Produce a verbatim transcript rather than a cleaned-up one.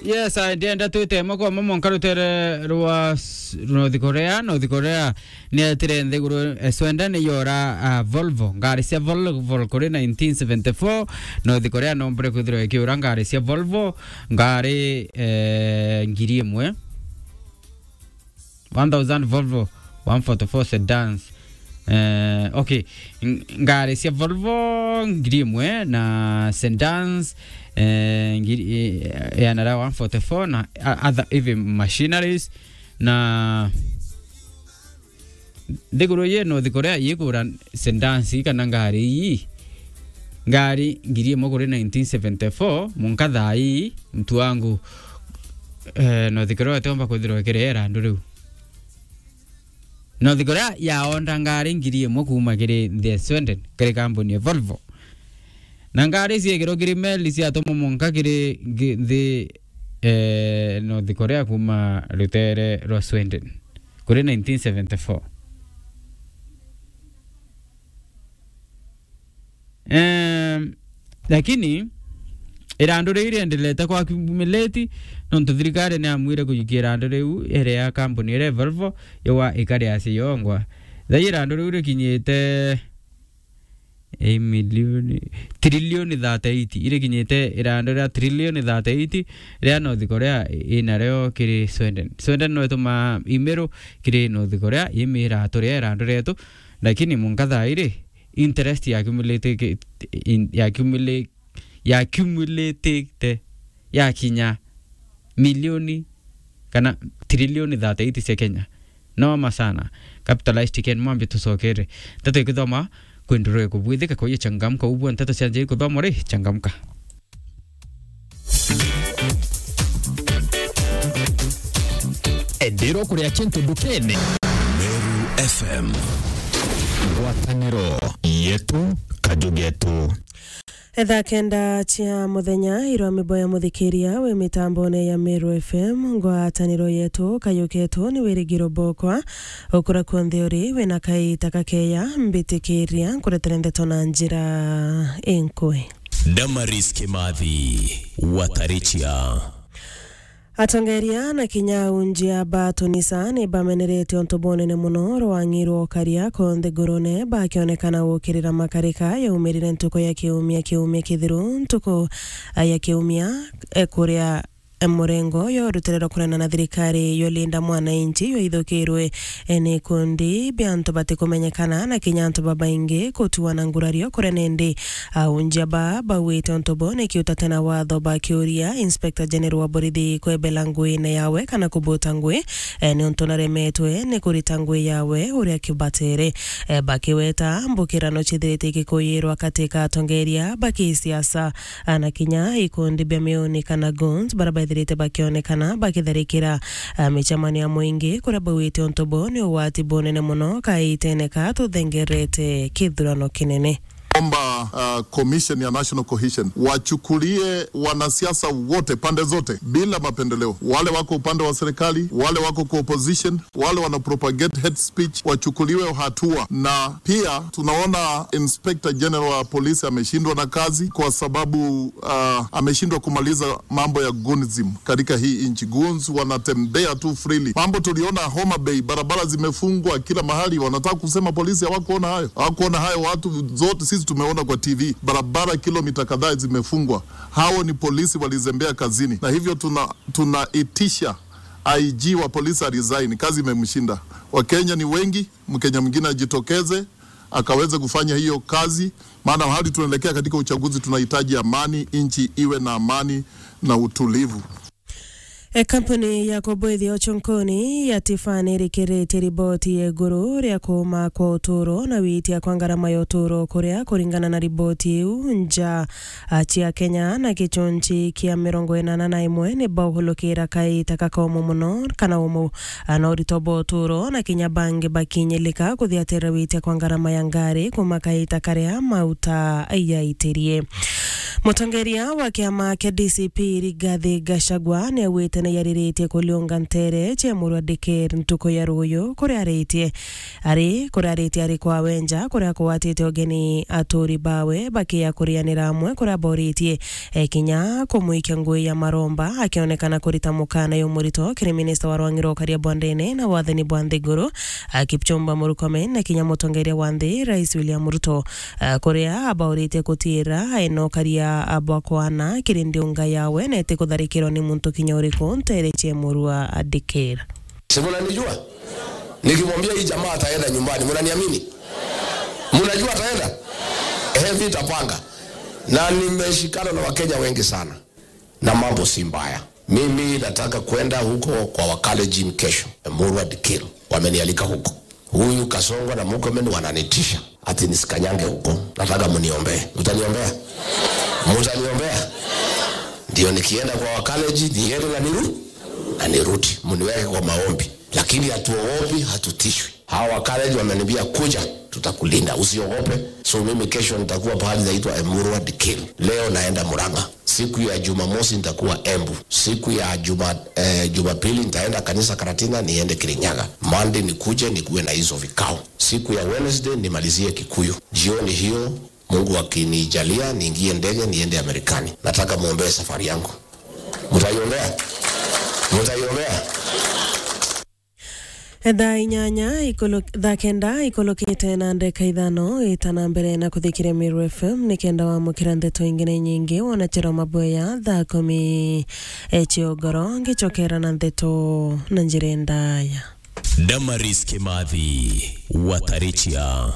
Yes, I, ndienda twite moko mamo nkarutere rwa s-, North Korea. North Korea ni etire nthiguru, eh, Sweden ni yora, ah, Volvo. Ngari cia Volvo kuri nineteen seventy-four. North Korea nombire kwithirwa ikiura ngari cia Volvo, ngari, eh, ngiri imwe. One thousand Volvo one forty-four sedans. Eh, okay. Ng-, ngari cia Volvo ngiri imwe na sedans, eh, ngiri, eh, ya nara one forty-four na, a-, other heavy machineries na nthiguru yi North Korea yikura sedans kana ngari ii. Ngari ngiri imwe kuri nineteen seventy-four, munka thaa ii, mtu wangu, eh, North Korea atiomba kwithirwa ikiri irandu riu. North Korea yaonda ngari ngiri imwe kuuma kiri nthi ya Sweden, kiri kambuni ya Volvo. Na ngari ciekirwo kiri meli ciatumwa munka kiri ngi-, nthi, eh, North Korea kuuma rutere rwa Sweden, kuri nineteen seventy-four. Ehm, lakini irandu riu riendelete kwa accumulate, nontu thirikari ni amwire kujukia irandu riu iri ya kambuni iria Volvo yawa ikari ya Siyongwa. Thai irandu riu rikinyite, eh, milioni, trilioni thirty-eight, irikinyite irandu ria trilioni thirty-eight ria North Korea inario kiri Sweden. Sweden no itumaa imiru kiri North Korea, imira turia irandu rietu, lakini munka thaa iri interest ya accumulate-, in-, ya accumula-, ya accumulate ya kinya milioni kana trilioni thirty-eight cia Kenya. Noma sana. Capitalized Ken Mwambi tucokere. Nteto ikithoma kwendurwe kubwithika kwa hiyo changamka, ubua nteto cia njeri kuthoma ri changamka. Enderwa kuria kintu ndukene. Meru F M. Ngwataniro yetu, kaju getu. Thaa kenda cia muthenya, irwa miboya muthikiria wi mitambone ya Meru F M, ngwataniro yetu, kayu ketu ni wirigiro bokwa, ukura kunthe uri, wina kaita kakeya, mbitikiria, nkuretere ndeto na njira inkui. Damaris Kimathi, Watarichia. Atongeria na kinya aunjia ba tunisa ni bamenerete untu bunene muno rwang'i rwa ukaria konthe ngurune, bakionekana gukirira makarika yaumirire ntuku ya kiumia, kiumia kithiru, ntuku, a, ya kiumia, e, kuria, e, murengo yo rutere rwa kunena na thirikari yo Linda Mwananchi yo ithukirwe, e, ni ikundi bia antu batikumenyekana na kinya antu babaingi kutuana ngurario kuria nindi Aunjia ba bauite untu bo ni kiutate na watho, bakiuria Inspector General wa borithi kwebela nguine yawe kana kubuta ngui, e, ni untu naremetwe ni kurita ngui yawe uria kibatere. E, bakiweta mbukirano cithirite ikikuyirwa kati ka atongeria ba kisiasa, a, na kinya ikundi bia miuni kana goons, bara bethirite bakionekana bakitharikira, a, micemanio ya muingi, kuria bauite untu bo ni ugwati bunene muno kaitene ka tuthengerete kithurano kinene. Omba, uh, Commission ya National Cohesion wachukulie wanasiasa wote, pande zote, bila mapendeleo, wale wako upande wa serikali, wale wako kwa opposition, wale wana propagate hate speech, wachukuliwe hatua. Na pia tunaona Inspector General wa polisi ameshindwa na kazi kwa sababu, uh, ameshindwa kumaliza mambo ya goonism katika hii nchi. Goons wanatembea tu freely. Mambo tuliona Homa Bay, barabara zimefungwa kila mahali. Wanataka kusema polisi hawakuona hayo? Hawakuona hayo, watu zote sisi tumeona kwa T V. Barabara kilomita kadhaa zimefungwa. Hao ni polisi walizembea kazini. Na hivyo tuna-, tunaitisha I G wa polisi a resign, kazi imemshinda. Wakenya ni wengi, Mkenya mwingine ajitokeze, akaweze kufanya hiyo kazi. Maana hali tunaelekea katika uchaguzi, tunahitaji amani, nchi iwe na amani na utulivu. E, kampuni ya kubwithia uchunkuni ya Tiffany irikirite riboti ya iguru ria kuuma kwa uturo na witia kwa ngarama ya uturo, kuria kuringana na riboti iu, nja, a, cia Kenya na gichunchi kia mirongo inana na imwe ni bauhulukira kaita kakomu muno kana umu, a, na urito bwa uturo, na kinya bangi bakinyilika kuthiatira witia kwa ngarama ya ngari kuuma kaita karia mauta yaitirie. Mutongeria wa kiama kia D C P Rigathi Gachagua ni augite ni yariritie kuliunga ntere cia Murwa Dikir ntuku ya ruuyu, kuria aritie ari kuria aritie ari kwawe nja, kuria akugwatite ugeni aturi bawe bakia kurianira amwe, kuria aboritie e kinya kumwikia ngui ya maromba, akionekana kurita mukana jumurito kiri minista wa rwang'i rwa ukaria bwa ndene na wathani bwa nthiguru, a Kipchumba Murkomen, na kinya mutongeria wa nthi, Rais William Ruto, a kuria abauritie kutiira enokaria abwa kwana kiri ndiunga yawe na eti kutharikirwa ni muntu kinya uriku ntere cia Murwa Dikir. Si mnanijua? Nikimwambia hii jamaa ataenda nyumbani, mnaniamini? Mnajua ataenda? Eh, vita panga. Na nimeshikana na Wakenya wengi sana. Na mambo si mbaya. Mimi nataka kwenda huko kwa Wakalenjin kesho. Murwa Dikir. Wamenialika huko. Huyu Kasongo na Murkomen wananitisha. Ati nisikanyange huko. Nataka mniombee. Mtaniombea? Mtaniombea? Ndio nikienda kwa Wakalenjin, niende na niru-, na nirudi. Mniweke kwa maombi. Lakini hatuogopi, hatutishwi. Hawa Wakalenjin wameniambia, "Kuja, tutakulinda, usiogope." So mimi kesho nitakuwa pahali inaitwa Emurwa Dikir. Leo naenda Murang'a. Siku ya Jumamosi nitakuwa Embu. Siku ya Juma-, eh, Jumapili nitaenda kanisa Karatina, niende Kirinyaga. Monday nikuje nikuwe na hizo vikao. Siku ya Wednesday nimalizie Kikuyu. Jioni hiyo, Mungu akinijalia, niingie ndege niende Amerikani. Nataka muombee safari yangu. Mtaiombea? Mtaiombea? Thaa inyanya ikulu-, thaa kenda ikulukite na ndeka ithano, ita na mbere na kuthikiria Meru F M, nikenda wamukira ndeto ingi na inyingi, wona Chero Maboya thaa kumi, e, cia ugoro, ngicokera na ndeto na njira ndaya. Damaris Kimathi, Watarichia.